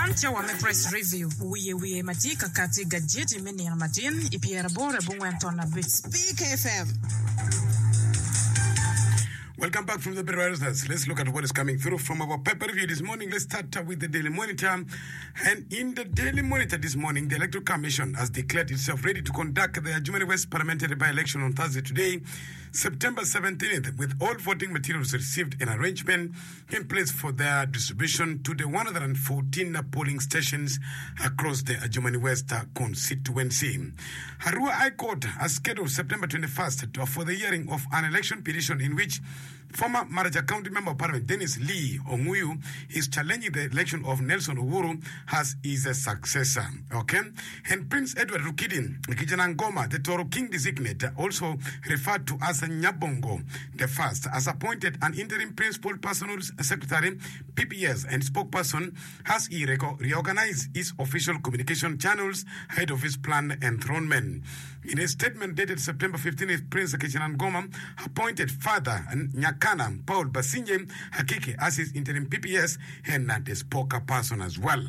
Man cawa me Press Review, wiye wiye ma tye ka kati i gajeti me nino matin i pyeraboro abongwen ton abic. Speak FM. Welcome back from the Breweries. Let's look at what is coming through from our paper review this morning. Let's start with the Daily Monitor. And in the Daily Monitor this morning, the Electoral Commission has declared itself ready to conduct the Adjumani West parliamentary by-election on Thursday today, September 17th, with all voting materials received and arrangement in place for their distribution to the 114 polling stations across the Adjumani West constituency. Arua High Court has scheduled September 21st for the hearing of an election petition in which former Maracha County Member of Parliament Dennis Lee Onguyu is challenging the election of Nelson Owuru as his successor. Okay? And Prince Edward Rukidi Kijanangoma, the Toro King designate, also referred to as Nyabongo the First, has appointed an interim Principal Personal Secretary, PPS, and spokesperson as he reorganized his official communication channels ahead of his planned enthronement. In a statement dated September 15th, Prince Kijanangoma appointed Father Nyakana Paul Basinje Akiki as his interim PPS and the spokesperson as well.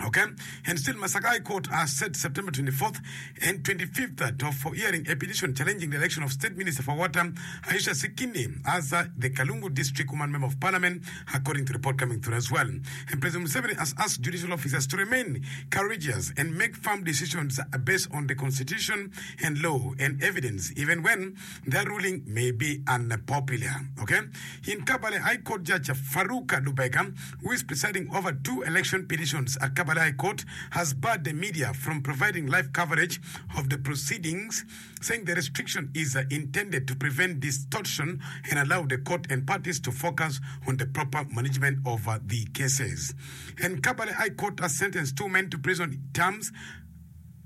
Ok, and still Masaka High Court has set September 24th and 25th to for hearing a petition challenging the election of State Minister for Water Aisha Sikindi as uh, the Kalungu District Woman Member of Parliament, according to report coming through as well. And President Museveni has asked judicial officers to remain courageous and make firm decisions based on the constitution and law and evidence, even when their ruling may be unpopular. Okay? In Kabale High Court Judge Farouk Lubega, who is presiding over two election petitions at Kabale High Court, has barred the media from providing live coverage of the proceedings, saying the restriction is uh, intended to prevent distortion and allow the court and parties to focus on the proper management of uh, the cases. And Kabale High Court has sentenced two men to prison terms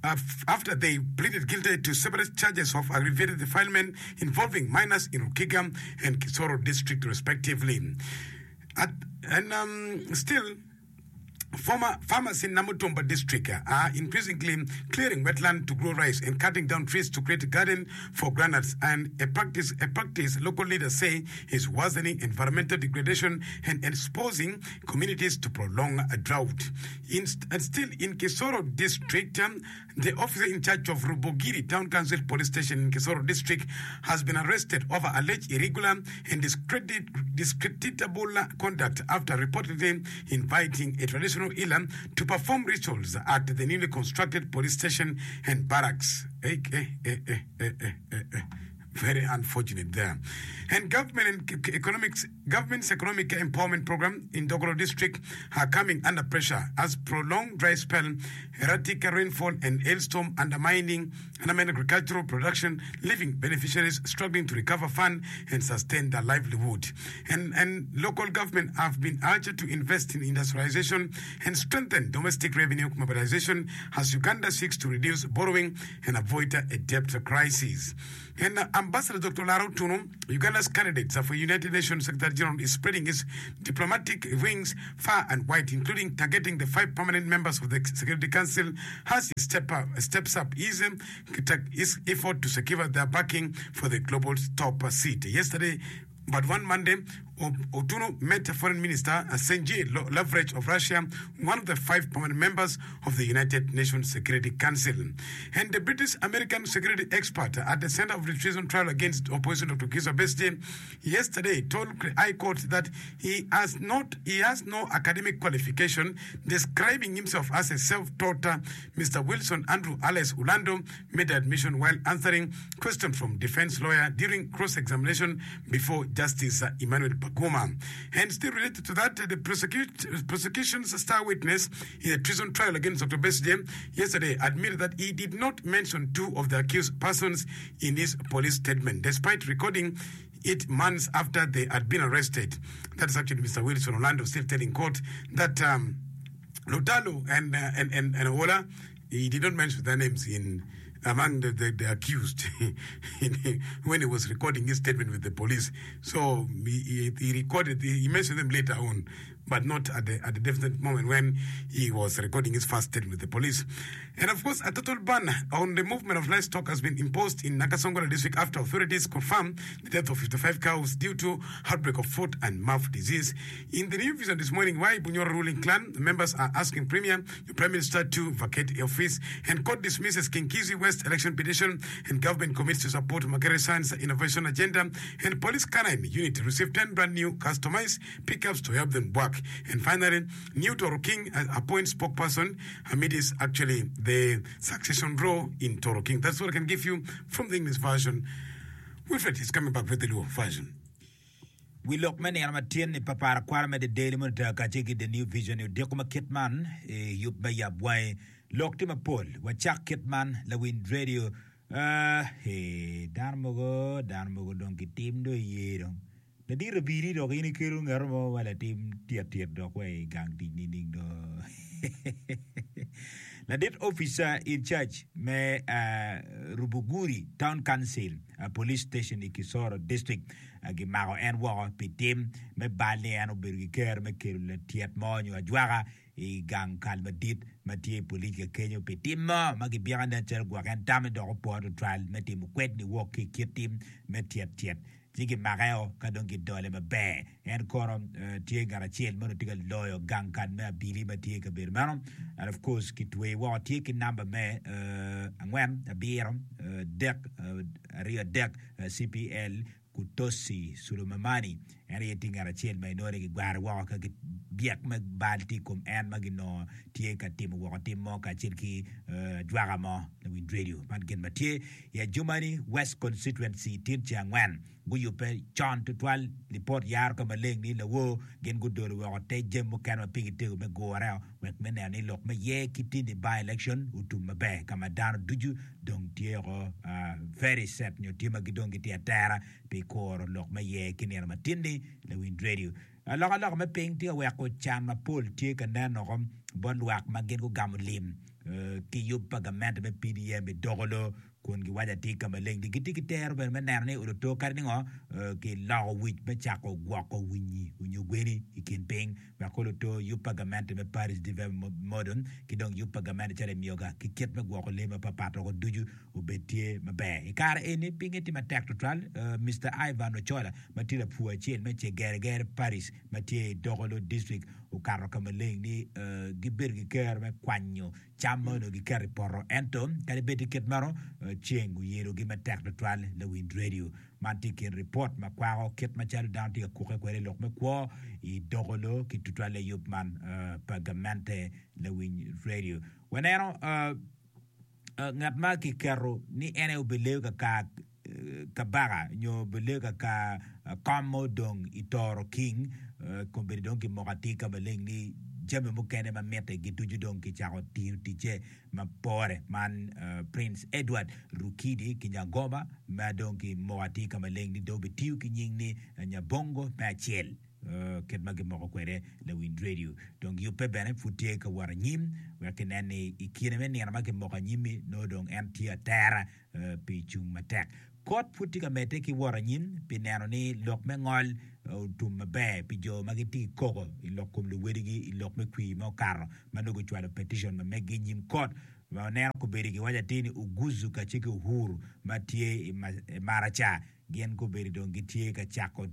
after they pleaded guilty to separate charges of aggravated defilement involving minors in Rukiga and Kisoro district respectively. At, and um, still, Former farmers in Namutumba district are increasingly clearing wetland to grow rice and cutting down trees to create a garden for groundnuts, and a practice, a practice local leaders say is worsening environmental degradation and exposing communities to prolonged drought. In, and still in Kisoro district, um, the officer in charge of Rubugiri Town Council Police Station in Kisoro district has been arrested over alleged irregular and discredit, discreditable conduct after reportedly inviting a traditional healer to perform rituals at the newly constructed police station and barracks. Eh, eh, eh, eh, eh, eh, eh, eh. Very unfortunate there. And government and economics, government's economic empowerment program in Dokolo district are coming under pressure as prolonged dry spell, erratic rainfall and hailstorm undermining undermine agricultural production, leaving beneficiaries struggling to recover fund and sustain their livelihood. And, and local government have been urged to invest in industrialization and strengthen domestic revenue mobilization as Uganda seeks to reduce borrowing and avoid a debt crisis. And Ambassador Doctor Lara Otunnu, Uganda's candidate for United Nations Secretary General, is spreading his diplomatic wings far and wide, including targeting the five permanent members of the Security Council as he step up, steps up his, his effort to secure their backing for the global top seat. Yesterday, But one Monday, Otunnu met Foreign Minister Sergei Lavrov of Russia, one of the five permanent members of the United Nations Security Council. And the British American security expert at the center of the treason trial against opposition Dr. Kizza Besigye yesterday told High Court that he has not he has no academic qualification, describing himself as a self-taught. Mr. Wilson Andrew Alice Ulando made the admission while answering questions from defense lawyer during cross-examination before Justice Emmanuel Baguma. And still related to that, the prosecution's star witness in the treason trial against Dr. Besigye yesterday admitted that he did not mention two of the accused persons in his police statement, despite recording it months after they had been arrested. That's actually Mr. Wilson Orlando still telling court that um, Lutalo and, uh, and, and, and Ola, he did not mention their names in among the, the, the accused when he was recording his statement with the police. So he, he, he recorded, he mentioned them later on. but not at the, at the definite moment when he was recording his first statement with the police. And of course, a total ban on the movement of livestock has been imposed in Nakasongola district after authorities confirmed the death of 55 cows due to outbreak of foot and mouth disease. In the new vision this morning, why Bunyoro ruling clan members are asking Premier, the Prime Minister to vacate office and court dismisses Kinkizi West election petition and government commits to support Makerere Science Innovation Agenda and Police Canine Unit receive 10 brand new customized pickups to help them work. And finally, new Toro King appoints spokesperson amid is actually the succession row in Toro King. That's what I can give you from the English version. Wilfred is coming back with the Luo version. Wi lok me nino ma tyen-ni pa par akwara me The Daily Monitor kacel ki The New Vision i odiko ma kit man i yub me yab wangi. Lok tye mapol. Wacak kit man, lawiny radio. Uh, he, dano mogo, dano mogo dong gitim dong iye dong. Ladit abili dok in ikelo ngat mo ma latim tyet tyet dok wa i gang tic nining do? Ladit officer in charge me Rubuguri Town Council Police Station i Kisoro District gimako en woko pi tim me bal ni en obedo ki kero me kelo latyet mo nyo ajwaka i gang kal madit ma tye i polic ka kenyo pi tim mo ma gibyeko nen calo gwok en tame dok opwor tutwal me timo kwed niwok ki i kit tim me tyet tyet. Ci gimakeo ka dong gidole maber. En kono tye ngat acel ma onongo tye ka loyo gang kal me abili ma tye i kabedo meno. And of course kitweye woko tye ki namba me angwen abiro dek 23 CPL Kutosi Sulumamani. En aye tye ngat acel ma inongo ni gigware woko ka byek me bal tye i kom en ma ginongo tye ka timo woko tim mo kacel ki ajwaka mo lawiny radio. Man gin ma tye I Adjumani West Constituency tin ceng angwen guyubbe con tutwal. Lipot yaro ka maleng ni lawor gin gudolo woko te jami mukene ma pigi tego me gure wek me neno ni lok me yer ki tini by election otum maber ka ma dano ducu dong tye oko very set nyo tye ma gidong gitye atera pi kuro lok me yer ki nino ma tinni lawiny radio. Alokaloka me piny tye ka weko can mapol tye ka nen woko bot lwak ma gin gugamo lim ki yub pa gamente me PDM i Dokolo kun giwaco atir ka maleng ni gitye ki tero bene me neno ni oluto kadi ningo kiloko wic me cako gwoko winyi onyo gweni i kin piny wek oluto yub pa gamente me Parish Development Model ki dong yub pa gamente calo Emyoga ki kit me gwoko lee mapapat woko ducu obed tye maber. I kare eni pinye tye matek tutwal. Mister Ivan Ochola ma tye lapur acel me Cegeregere Parish ma tye i Dokolo District okato ka maleng ni gibedo ki kero me kwanyo cam ma onongo giketo i poto ento kadi bed tye kit meno ceng oyelogi matek tutwal lawiny radio. Man tye i kin ripot ma kwako kit macalo dano tye ka kukke kwede i lok me kwo i Dokolo ki tutwalle yub man pa gamente lawiny radio. Waneno Ngat ma kiketo ni en aye obileyo kakar kabaka nyo obileyo kakar kom ma odong i Toro King, kombeddi dong kimoko atir ka maleng ni jami mukene ma mitte gi ducu dong kicako tiyo ticce ma pore. Man Prince Edward Rukidi Kinyangoma ma dong kimoko atir ka maleng ni dong obitiyo ki nying ni Nyabongo me acel. Kit ma gimoko kwede lawiny redio dong yubbe bene pud tye ka wot anyim wek kinen ni i kine me nino ma kimoko anyim-mi nongo dong en tye atera pi cung matek. Kot pud tye ka medde ki wot anyim pi neno ni lok me ngol otum maber pi jo ma gitye ki koko i lok kom luwedigi i lok me kwir ma okato ma nongo gucwalo petition ma meggi i nyim kot. Ma waneno kobedo giwaco atir ni Oguzu kacel ki Uhuru ma tye i Maraca gin kobedo dong gitye ka cako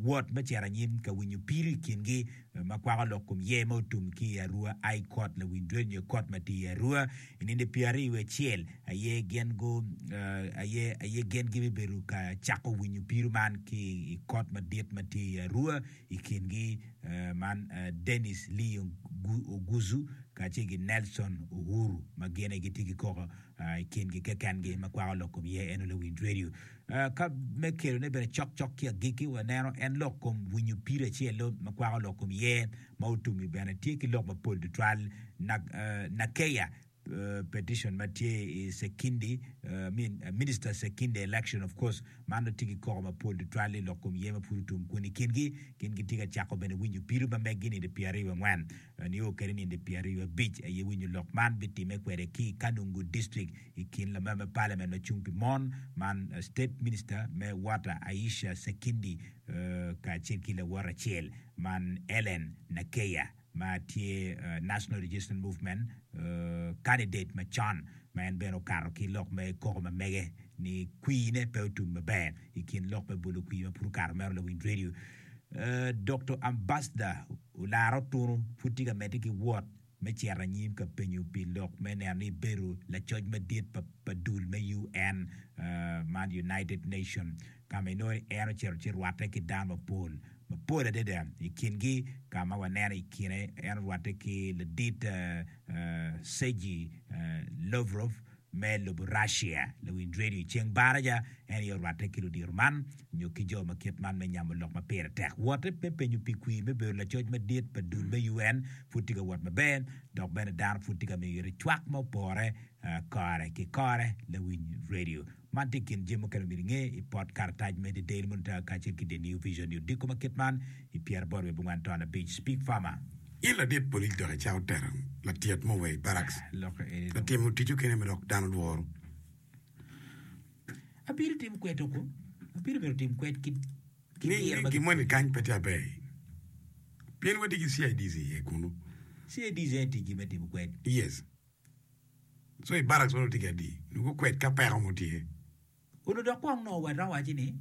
wot me cito anyim ka winyo pido i kingi ma kwako lok kom yer ma otum ki i Arua High Court lawiny dwel nyo kot ma tye i Arua i nino pyeraryo wiye acel aye gin gu aye aye gin gibibedo ka cako winyo pido man ki i kot madit ma tye i Arua i kingi man Dennis Lee Oguzu kacel ki Nelson Uhuru ma gin aye gitye ki koko i kingi kekengi ma kwako lok kom yer eno lawiny radio. Ka me kelone bene cokcok ki agikki, waneno en lok kom winyo pido acel-lu ma kwako lok kom yer ma otum-mi bene tye ki lok mapol tutwal. Nakeya. petition ma tye i Sekindi, I mean Minister Sekindi election of course man nongo tye ki koko mapol tutwal i lok kom yer ma pud otum kun i kingi gin gitye ka cako bene winyo pido ma meggi nino pyeraryo angwen nio kede nino pyeraryo abic aye winyo lok man bitime kwede ki i Kanungu District i kin lamemba me parliament ma cung pi mon man State Minister me Water Aisha Sekindi kacel ki lawote acel man Ellen Nakeya. ma tye National Resistance Movement candidate macon ma en bene okato ki lok me koko ma mege ni kwine pe otum maber i kin lok me bolo kwir ma pud okato meno lawiny radio. Doktor Ambassador Olara Otunu pud tye ka medde ki wot me cito anyim ka penyo pi lok me neno ni ebedo lacoc madit pa dul me UN man United Nation ka ma inongo ni en ocito ci rwatte ki dano mapol mapol adada. I kingi, ka ma waneno i kine, en orwatte ki ladit Sergey Lavrov me lobo Russia. Lawiny redio i ceng baraja, en aye orwatte ki ludito man nyo ki jo ma kit man me nyamo lok ma pire tek. Wotte me penyo pi kwir me bedo lacoc madit pa dul me UN pud tye ka wot maber, dok bene dano pud tye ka miyo ite cwak ma opore kore ki kore. Lawiny redio. Man tye i kin jami mukene ma myero inge i pot karatac me The Daily Monitor kacel ki The New Vision i odiko ma kit man i pyeraboro wiye abongwen ton abic. Speak Farmer. In ladit polic dok icako tero latyet mo wa i barracks Lokke eni ka dong. timo tic okene ma dok dano lworo. Abiro timo kwed oko. Abiro myero otim kwed ki ki Ni diro ni ma gin moni gipwonyo. kany pe tye aber pien watye ki CIDs iye kunu. CIDs aye ticgi me timo kwed. Yes. So i barracks mono tye ki adi? Nongo gukwed ka peko mo tye. Onongo dok kong nongo waromo waci ni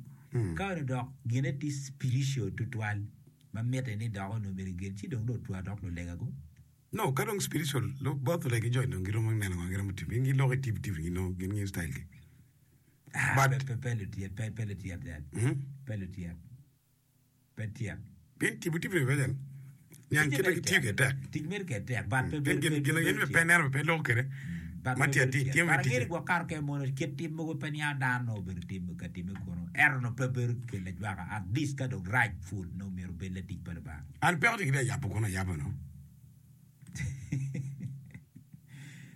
ka onongo dok gine tye spiritual tutwal ma mitte ni dok onongo myero gin ci dong nongo otwero dok lulega go. No, ka dong spiritual both olega ki joy dong giromo neno ngo giromo timo. Gin giloko i TV TV gin gin ngiyo style gi. Ah, But pe pe lutyet pe pe lutyet dad. Pe lutyet. Pe tyek. Pien tipo tipo ni bene niang Ticce kite mere ki tiyo tek. kwede tek. Tic mere kede tek but pe Pien bedo gin pe gin bedo en tyek. pe neno pe loko kwede But ma pe tye bedo atir tyek. tye But me angeyo ticce. ni gwok kato kene mono kit tim mogo pe niango dano nongo obedo tim ka timme kunu ento nongo pe bedo kelo ajwaka at least ka dong rac pud nongo myero obed latic pa Lubanga. An peko tye kite ayabo kunu ayaba no.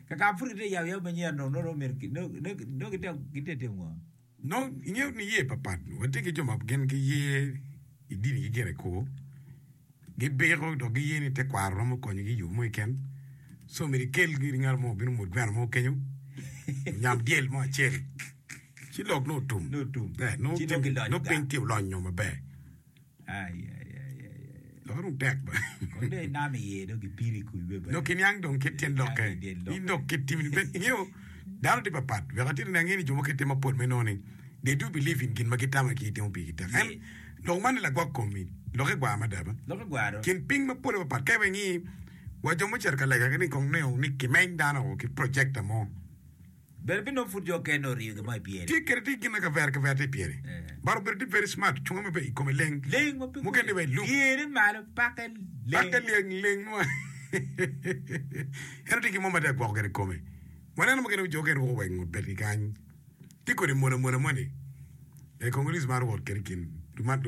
Kaka pud gitye yabo yab manyen dong nongo myero nongo nongo gitye timo ngo? Nongo ingeyo niye papat. Watye ki jo ma gin giye i dinigi gire kwo, gibiko dok giye ni tekwaro romo konyogi i yo mo keken. Co myero ikel giri ngat mo obin omwod gweno mo kenyo, onyam dyel mo acel, ci lok nongo otum. Nongo otum. Eh, nongo Ci nongo gilonyo nongo piny gang. tye olonyo maber. Ai, ai, ai, ai, ai. Lokke dong tek ba. Kong dong inamo iye dong gipiri i kubi bene. Dong kiniang dong kit tyen Inamo lokke. i tyen lokke. In dong kit timini bene ingeyo dano tye papat. Wek atiti ni angeyo ni jo mukene tye mapol ma inongo ni they do believe in gin ma gitamo ki gitimo pigi tek. En Yes. lok man ni lagwok komi lokke gwar mada ba. Lokke gwar do. Kin piny mapol mapat ka iwinyo wa jo mucito ka lega ni kong neno ni kimeny dano ki projector mo. Bene binongo pud jo okene oriyo gin mo i pyere. Tye kede tye gin ma kavera kavera tye i pyere. But obedo tye very smart, cunge maber i kome leng. Leng ma pe Mukene wa i loop. Pyere malo pake leng. Pake leng leng mo. Ento tye gin mo ma tye ka gwoko kede kome. Waneno mukene jo okene ruko wa i ngut betgi kany. Tye kodi mola mola moni. E Congolese maro wot kede i kin wot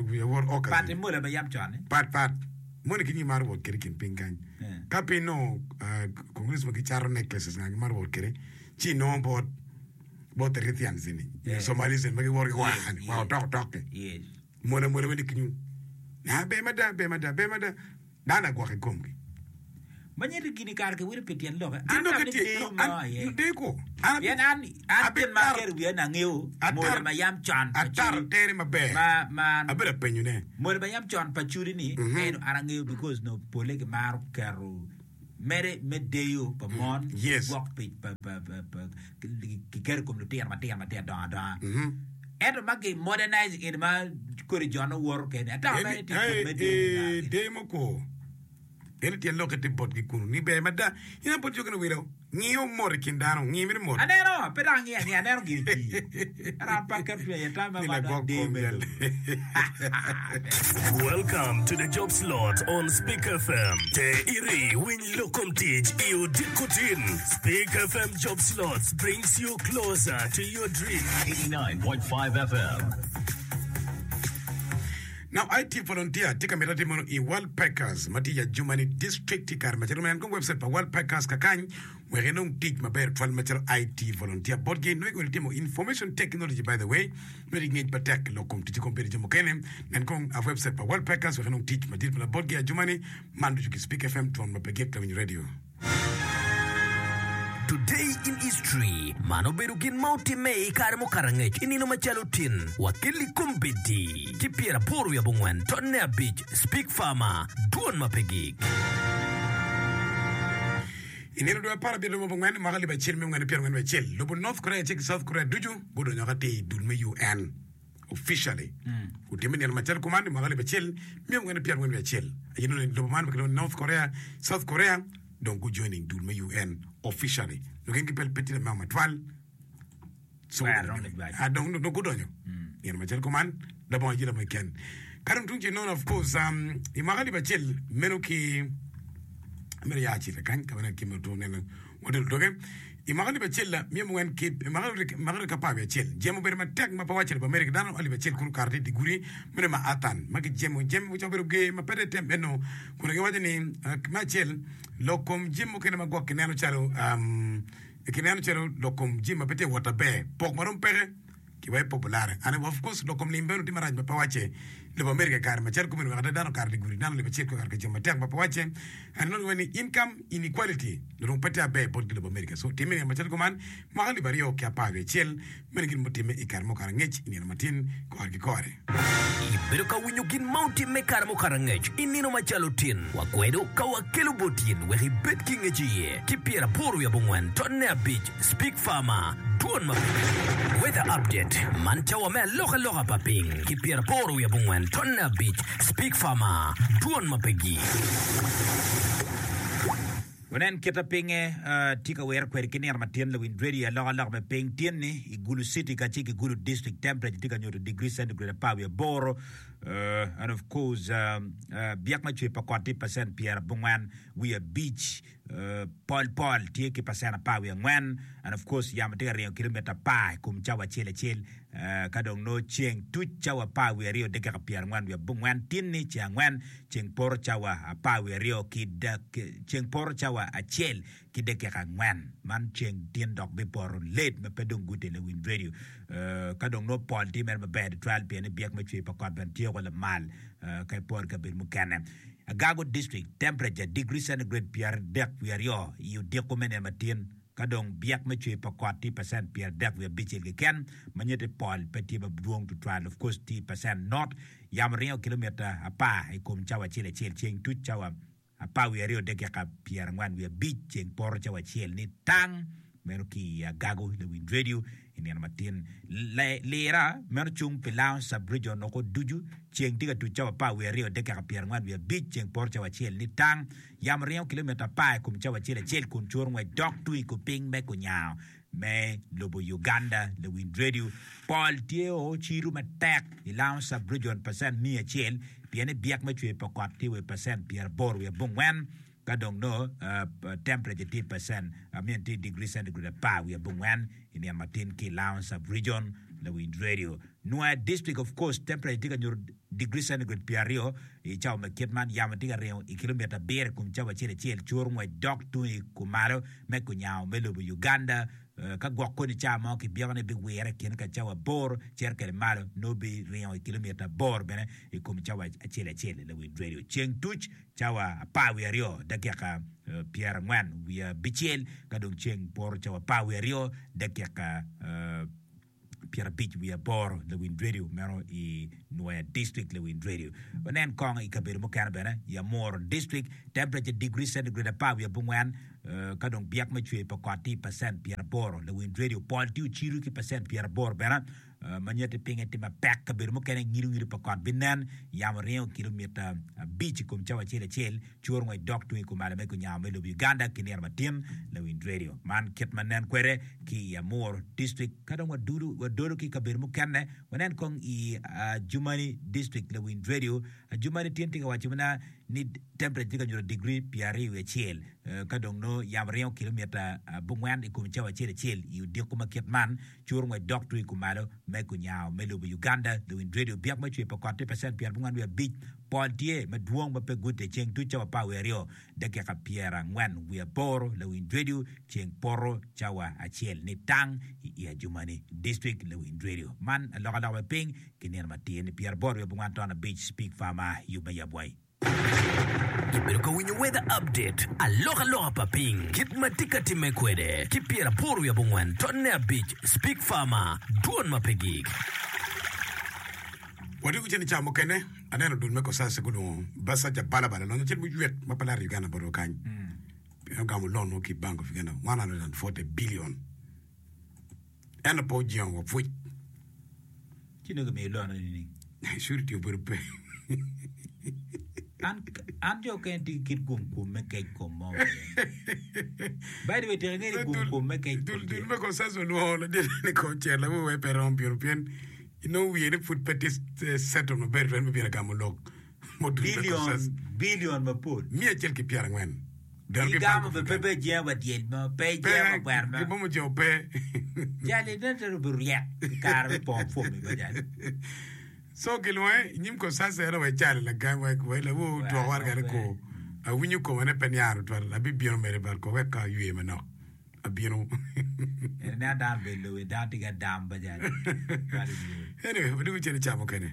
orcas. Pat i mola ma yam con ni. Pat pat. Moni ki nyi maro wot kede i kin piny kany. Ka piny nongo Congolese ma gicato necklaces nga gimaro wot kede. Ci inongo bot bot Erithians eni nyo Somalis eni ma giwoto ki waa ni waa otok otok-ki mola mola weng kinyu aa ber mada ber mada ber mada dano agwok i komgi. Ma nyiti gini kare kiwilo pi tyen lokke. Tyen An lokke tam ni tye deyo no mo an aye. deyo ko an Pien an an gin ma abitaro aketo i wiya ni angeyo mola ataro ma yam con pa ataro cudi tere maber ma ma abedo apenyo ne. mola ma yam con pa cudi ni eno an angeyo because nongo pole gimaro keto Mere me deyo pa mon Yes. gwok pi pa pa pa pa kiketo i kom lutino matino matino dongo adonga. Ento ma ki modernize eni ma kodi jo nongo woto kede ata mere tye kit me deyo ni Deyo mukwongo eno tyen lokke tye botgi kunu ni ber mada. In aye bot jo kene wilo ngiyo mot i kin dano, ngi mito mot. Aneno, pe dok angiyo angiya, aneno gin i pii. Ento an pe aketo cwinya iye, tam Ni ma lagwok dok deyo kom me jal. lobo. Welcome to the job slot on Speak FM. Te iri winy lok kom tic i odiko tin. Speak FM job slots brings you closer to your dream. 89.5 FM. Now IT volunteer tye ka mito atim meno i World Packers ma tye i Adjumani District i kare macalo nen kong website pa World Packers kakany wek inong tic maber twal macalo IT volunteer botgi nongo ikoni timo information technology by the way nongo itye ki ngec matek lok kom tic i kompiuta jo mukene nen kong a website pa World Packers wek inong tic madit ma botgi i Adjumani man ducu ki Speak FM twon ma pe gik lawiny radio. Today in History, Man obedo gin ma otimme i kare mukato angec i nino macalo tin, wakelli kombeddi ki pyeraboro wiye abongwen tonne abic, Speak Farmer, Dwon ma pe gik. I nino dwe apar abiro dwe abongwen mwaka alip acel miya angwen ki pyerangwen wiye acel, lobo North Korea kacel ki South Korea ducu gudonyo atir i dul me UN. Officially, otimme nino macalo kuman i mwaka alip acel miya angwen ki pyerangwen wiye acel aye nongo lobo man ma kilwongo ni North Korea, South Korea dong gu joining dul me UN officially nongo gin gipe pe tye lameo matwal so Twero dong gijwac. Ah, dong dong gudonyo nino macalo kuman labongo ayela mo keken. Ka dong tung cel nongo of course um, i mwaka alip acel meno ki meno ya acel kany ka ma ki mito neno wadolo doge i mwaka alip acel miya mungwen ki i mwaka mwaka alip apar wiye acel jemo obedo matek ma pe wacce lobo Amerika dano alip acel kulu okato tye i dye gudi meno ma Athan ma gijemo jemo ocako bedo ger ma pe te tem eno kun giwaco ni me acel lok kom jami mukene ma gwok kineno calo kineno calo lok kom jami ma pe tye ka wot aber pok ma dong peke Kiwek popular and of course lok kom lim bene tye marac ma pe wacce. Lobo America i kare macalo kumeno wek ada dano okato i gudi dano alip acel kwe okato ka cam matek ma pe wacce and nongo giwaco ni income inequality dong pe tye aber bot gi lobo America so timme nino macalo kuman mwaka alip aryo ki apar wiye acel meno gin mutimme i kare mukato angec i nino matin kore ki kore. Ibedo ka winyo gin ma otimme i kare mukato angec i nino macalo tin. Wakwedo ka wakelo bot in wek ibed ki ngec iye ki pyeraboro wiye abongwen tonne abic Speak Farmer, Dwon ma piny. Weather Update, Man cawa me alokaloka pa piny ki pyeraboro wiye abongwen tonne abic Speak Farmer, Dwon ma pe gik. Wunen kit ma pinye tye ka wire kwede ki nino matin lawiny radio i alokaloka me piny tin-ni i Gulu City kacel ki Gulu District temperature tye ka nyuto degree centigrade apar wiye aboro and of course byek me cwer pa kot tye percent pyerabongwen wiye abic. Pol pol tye ki pacen apar wiye angwen and of course yamo tye ka ringo kilomita apar i kom cawa acel acel ka dong nongo ceng tuc cawa apar wiye aryo dakika pyerangwen wiye abongwen tinni ceng angwen ceng poto cawa apar wiye aryo ki ceng poto cawa acel ki dakika angwen man ceng tin dok bipoto late ma pe dong gute lawiny radio ka dong nongo pol tye mere maber tutwal pien ni byek me cwer pa kot bene tye woko lamal ka iporo ki kabedo mukene. Agago District, Temperature, Degree centigrade 32 i odiko me nino matin, ka dong byek me cwer pa kot tye pacent 35.6 keken, ma nyutti pol pe tye madwong tutwal, of course tye pacent not, yamo ringo kilomita apar i kom cawa acel acel, ceng tuc cawa apar wiye aryo dakika pyerangwen wiye abic, ceng poto cawa acel ni tang. Meno ki i Agago lawiny redio i nino matin. Lira meno cung pi Lango Sub-Region oko ducu. Ceng tye ka tuc cawa apar wiye aryo dakika pyerangwen wiye abic, ceng poto cawa acel ni tang. Yamo ringo kilomita apar i kom cawa acel acel kun curo ngwec dok tung i kupiny me kunyango me lobo Uganda. Lawiny redio pol tye o cido matek i Lango Sub-Region pacent miya acel pien ni byek me cwer pa kot tye wa i pacent pyeraboro wiye abongwen. Ka dong nongo temperature tye i percent, I mean tye i degree centigrade apar wiye abongwen i nino matin ki i Lango sub region, lawiny radio. Nwoya district of course temperature tye ka nyuto degree centigrade pyeraryo i cawa me kit man, yamo tye ka ringo i kilomita abiro i kom cawa acel acel, curo ngwec dok tung i kumalo me kunyango me lobo Uganda. Ka gwok koni cawa mo kibyeko ni biwire i kine ka cawa aboro cito kwede malo nongo biringo i kilomita aboro bene i kom cawa acel acel lawiny radio. Ceng tuc cawa apar wiye aryo dakika pyerangwen wiye abicel, ka dong ceng poto cawa apar wiye aryo dakika pyerabic wiye aboro lawiny radio meno i Nwoya District lawiny radio. Wanen kong i kabedo mukene bene i Amuru District temperature degree centigrade apar wiye abongwen ka dong byek me cwer pa kot tye i pacent pyeraboro lawiny radio pol tye ocido ki pacent pyeraboro bene ma nyutti pinye tye mapek, kabedo mukene ngido ngido pa kot binen, yamo ringo kilomita abic i kom cawa acel acel, curo ngwec dok tung i kumalo me kunyango me lobo Uganda ki nino matin lawiny radio. Man kit ma nen kwede ki i Amuru District. Ka dong wadudo wadolo ki i kabedo mukene, wanen kong i Adjumani District lawiny radio. Adjumani tin tye ka waco mina. Ni temperature tye ka nyuto digri 21 ka dong nongo yamo ringo kilomita abongwen i kom cawa acel acel i odiko ma kit man. Curo ngwec dok tung i kumalo me kunyango me lobo Uganda. Luwiny redio byek me cwer pa kot tye pacent 45. Pol tye madwong ma pe gute ceng tuc cawa 12 dakika 48. Lawiny redio ceng poto cawa acel ni tang i Iajumani District. Lawiny redio man alokaloka me piny ki nino matir ni 85 Speak Farmer yub me yab wai. Ibedo ka winyo Weather Update, alokaloka pa piny, kit ma tye ka timme kwede, ki 84.5 Speak Farmer, dwon ma pe gik. Watye ki cen i cawa mukene, aneno dul me Kosase gulwongo Basaja Balabala lonyo acel muywek ma pe laro Uganda botwa kany. Pien ogamo loan mo ki i Bank of Uganda 140 billion. Ento pe ojingo wa pwec. Ci nongo kimiyo loan eni nining? Surety obedo pe. An an jo okene tye ki kit gum kom me kec kom mo iye. By the way, tika ingeyo ni gum kom me kec kom Dul tye? dul me consensus olwongo ladit ni kong cer lawu wek pe romo bino pien inongo wiye ni pud pe tye settled maber twero me bino gamo lok mo dul me Billion, consensus. billion mapol. Miya acel ki pyerangwen. Dano ki Gigamo Bank of be pe Uganda. pe jengo wa dyel mo, pe jengo wa kwero mo. Gin mo mujengo pe. Jali nen calo obedo ryek i kare me pongo fom-mi ba jali. So gilwonge i nyim Kosasa en wek calo lagam wek wek lawu Wek dwok waraga ni pe. ko awinyo koma ne pe niang tutwal abibino mere but ko wek ka aywe manok abino. En ineno dano obedo lobo dano tye ki adam ba jali. Cwalo i wiye. Anyway, wadwogo cen i cawa mukene.